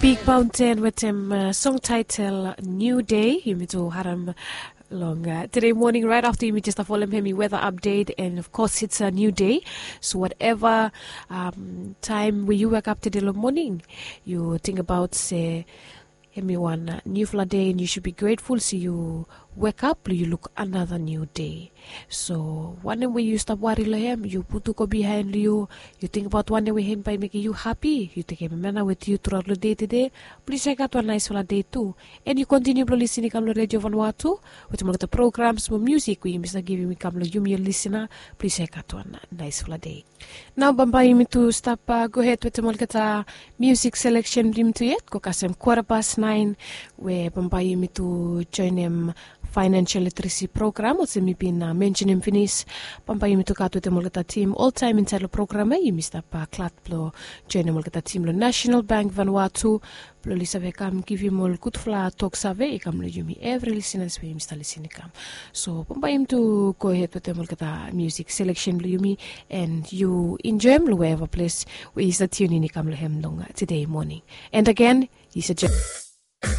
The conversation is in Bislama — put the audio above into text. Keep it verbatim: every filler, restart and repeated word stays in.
Big Mountain wetem uh, song title New Day. Yumi tu haram long uh, today morning right after yumi just folem hemi weather update, and of course it's a new day. So whatever um, time we you wake up today long morning, you think about say hemi wan uh, newfala day, and you should be grateful. So you wake up, you look another new day. So wanem we yu stap wari long hem, yu putu go bihain long yu. Yu tingbaot wanem we hem bai mekim yu hapi, yu tekem hem nao wit yu truaot long dei tede. Plis yu gat wan naisfala dei tu. En yu kontiniu blong lisin i kam long redio vanua tu wetem olgeta programs mo musik we yumi save givim i kam long yumi ol lisina. Plis yu gat wan naisfala dei. Nao bambae yumi tu stap gohed wetem olgeta musik seleksen blong yumi tu yet, go kasem kwara pas naen, we bambae yumi tu joenem financial literacy program olsem mi bin mensenem finis. Bambae yumi tu gat wetem olgeta tim oltaem insaed long program ya. Yumi stap glad blong joenem olgeta tim long National Bank vanua tu, blong oli save kam givim ol gudfala tok save i kam long yumi evri lisinas we yumi stap lisin i kam. So bambae yumi tu gohed wetem olgeta musik seleksen blong yumi, en yu enjoem long weva ples we yu stap tiunin i kam long hem long tede moning. And again, yu stap joen